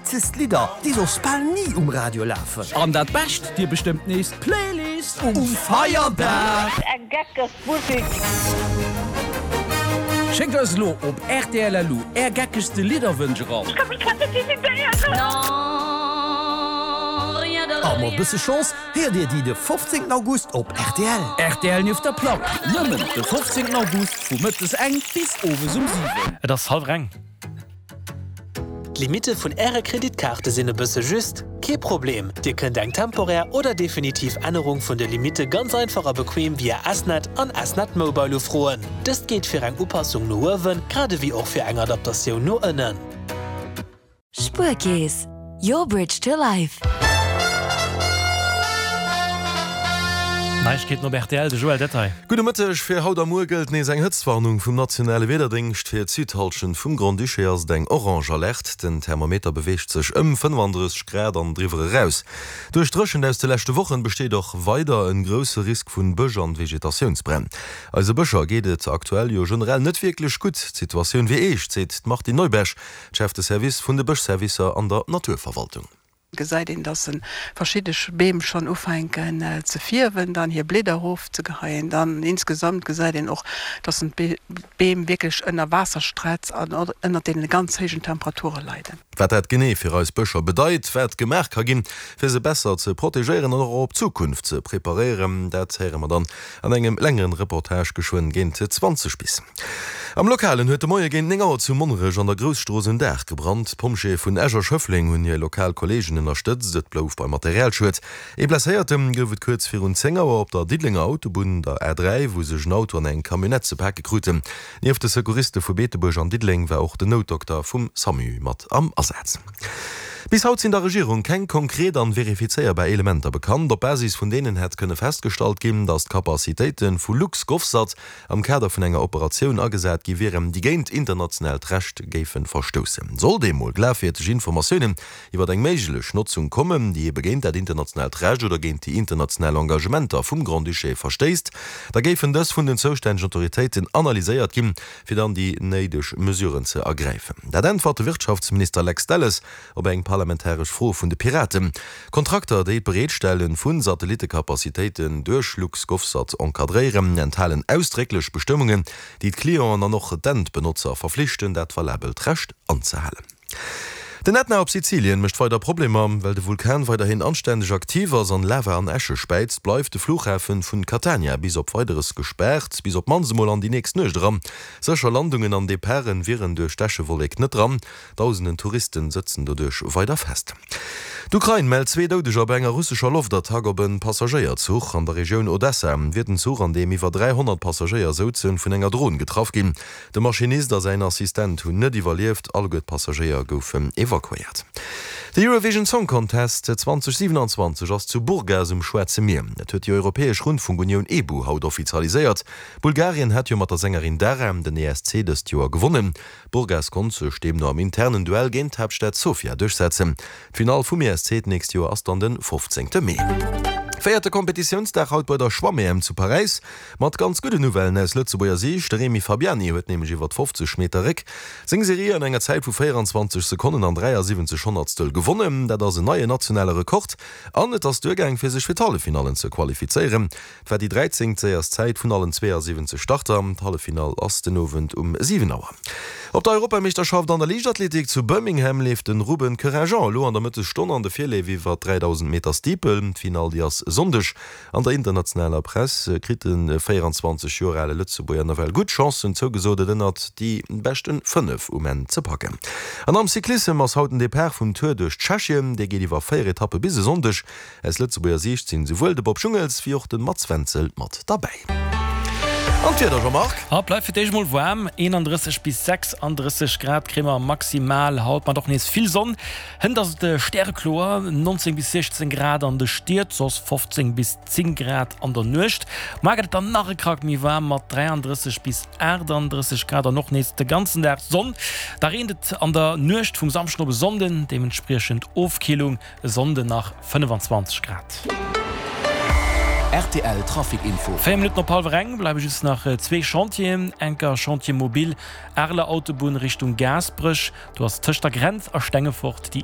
witzegst Lidder, déi soss bal ni um Radio lafen. An dat Bescht, Dir bestëmmt nees d'Playlist um Feierdag! Eng geckeg Musik! Schéckt eis elo op rtl.lu är geckegste Lidderwënsch eran. Ech ka mech grad net decidéieren. A mat bësse Chance héiert dir déi de 15 August op rtl. Rtl nieft der Plack, nëmmen de 15 August vu mëttes eng bis owes um 7. Et ass hallwer eng. D'Limitte vun Äre Kreditkaarte sinn e bësse just? Kee Problem, Dir kënnt eng temporär oder definitiv Ännerung vun de Limitte ganz einfach a bequem via S-Net an S-Net Mobile ufroen. Dëst geet fir eng Upassung no uewen, grad ewéi och fir eng Adaptatioun no ënnen. Spuerkeess, your bridge to life. Neiegkeeten op rtl, de Joël Detail. Gudde Mëtteg, Fir haut a muer gëllt nees eng Hëtztwarnung vum nationale Wiederdéngscht. Fir d'Südhallschent vum Grand-Duché ass et eng orange Alerte. Den Thermometer beweegt sech ëm 35 Grad an driwwer eraus. Duerch d'Dréchent aus de leschte Wochen besteet och weider en grousse Risk vun Bësch an Vegetatiounsbränn. Eise Bëscher geet et aktuell jo generell net wierklech gutt. D'Situatioun wier eescht, seet d'Martine Neuberg, d'Chef de Service vun de Bëschservicer an der Naturverwaltung. Gesäit een dass en verschidde Beem schonn ufänken ze fierwen, dann hir Blieder erofzegeheien. Dann insgesamt gesäit een och, dass en d'Beem wierklech ënner Waasserstretz an ënner deene ganz héijen Temperature leiden. Wat dat genee fir eis Bëscher bedeit, wat gemaach ka ginn, fir se besser ze protegéieren an och op d'Zukunft ze preparéieren, dat héiere mer dann An engem längeren Reportage geschwënn géint 20 bis. Am Lokalen huet de Moie géint 9 Auer zu Monnerech an der Grousstrooss en Daach gebrannt. D'Pompjeeë vun Esch a Schëffleng hunn hir lokal Kolleegen ënnerstëtzt. Et blouf beim Materialschued. Ee Blesséierte gouf et kuerz virun 10 Auer op der Diddelenger Autobunn, der A3, wou sech en Auto an eng Camionnette ze pake kruten. Nieft de Secouriste vu Beetebuerg an Diddeleng war och den Noutdokter vum SAMU mat am Asaz. Bis haut sinn der Regierung keng konkret an verifizéierbar Elementer bekannt, op Basis vun deenen hätt kënne festgestallt ginn, datt d'Capacitéite vu LuxGovSat am Kader vun enger Operatioun agesat gi wieren, déi géint internationaalt Recht géife verstoussen. Sollt eemol glafwierdeg Informatiounen iwwer eng méiglech Notzung kommen, déi ebe géint dat internationaalt Recht oder géint déi international Engagementer vum Grand-Duché verstéisst, da géifen dës vun den zoustännegen Autoritéiten analyséiert ginn, fir dann déi néideg Mesuren ze ergräifen. Dat äntwert de Wirtschaftsminister Lex Delles op eng parlamentaresch Fro vun de Piraten. Kontrakter, déi d'Bereetstelle vu Satellittecapacitéiten duerch LuxGovSat encadréieren, enthalen ausdrécklech Bestëmmungen, déi d'Clienten an och d'Endbenotzer verflichten, dat valabelt Recht anzehalen. Den Ätna op Sizilien mécht weider Problemer. Well de Vulkan weiderhin anständeg aktiv ass an Lava an Äsche späizt, bleift de Flughafen vun Catania bis op Weideres gespaart, bis op d'mannst emol an déi nächst Nuecht eran. Sécher Landungen an Departen wieren duerch d'Äschewollek net dran. Dausenden Touristen sëtzen doduerch weider fest. D'Ukrain mellt zwee Doudeger bei enger russescher Loftattack op e Passagéierzuch. An der Regioun Odessa wier den Zuch, an deem iwwer 300 Passagéier souzen, vun enger Dron getraff ginn. De Maschinist a säin Assistent hunn net iwwerlieft, alleguer d'Passagéier goufen evakuéiert. De Eurovision Song Contest 2027 ass zu Burgas um Schwaarze Mier. Dat huet déi Europäesch Rundfunkunioun EBU haut offizialiséiert. Bulgarien hat jo mat der Sängerin Dara den ESC dëst Joer gewonnen. Burgas konnt sech deemno am internen Duell géint d'Haaptstad Sofia duerchsetzen. D'Finall vum ESC d'nächst Joer ass dann de 15 Mee. Véierte Kompetitiounsdag haut bei der Schwamm-EM zu Paräis. Mat ganz gudden Nouvellen aus Lëtzebuerger Siicht, De Remy Fabiani huet nämlech iwwert 50 Meter Réck seng Serie an enger Zäit vu 24 Sekonnen an 73 Honnertstel gewonnen. Dat ass en neien nationale Rekord an et ass duergaang fir sech fir d'Halleffinallen ze qualifizéieren. Et war déi 13. séierst Zäit vun allen 72 Starter. D'Halleffinall ass den Owend um 7 Auer. Op der Europameeschterschaft an der Liichtathletik zu Birmingham leeft de Ruben Couragent elo an der Mëttesstonn an de Virleef iwwer 3000 Meter Steeple. D'Finall déi ass e Sonndeg. An der internationaler Press kritt de 24 Joer ale Lëtzebuerger nawell gutt Chancen zougesot, et ënnert déi beschten 5 um Enn ze packen. An am Cyclissem ass haut den Depart vum Tour duerch Tschechien. Dee geet iwwer 4 Etappe bis e Sonndeg. Aus Lëtzebuerger Siicht sinn esouwuel de Bob Jungels wéi och de Mats Wenzel mat derbäi. An d'Wieder, Jean-Marc? Haut bleift fir d'éischt mol waarm, 31 bis 36 Grad kréie mer maximal haut, mat och nees vill Sonn. Hënt ass et stärekloer, 19 bis 16 Grad an de Stied, soss 15 bis 10 Grad an der Nuecht. Muar gëtt et dann nach e Krack méi waarm mat 33 bis 38 Grad an och nees de ganzen Dag Sonn. Da reent et an der Nuecht vum Samschden op e Sonnden, deementspriechend Ofkillung, e Sonnden nach 25 Grad. Rtl Trafic Info. 4 Minutten op hallwer eng bleiwe just nach zwee Chantieren. Enker Chantier mobile Areler Autobunn Richtung Gaasperech, Do ass tëscht der Grenz a Stengefort déi.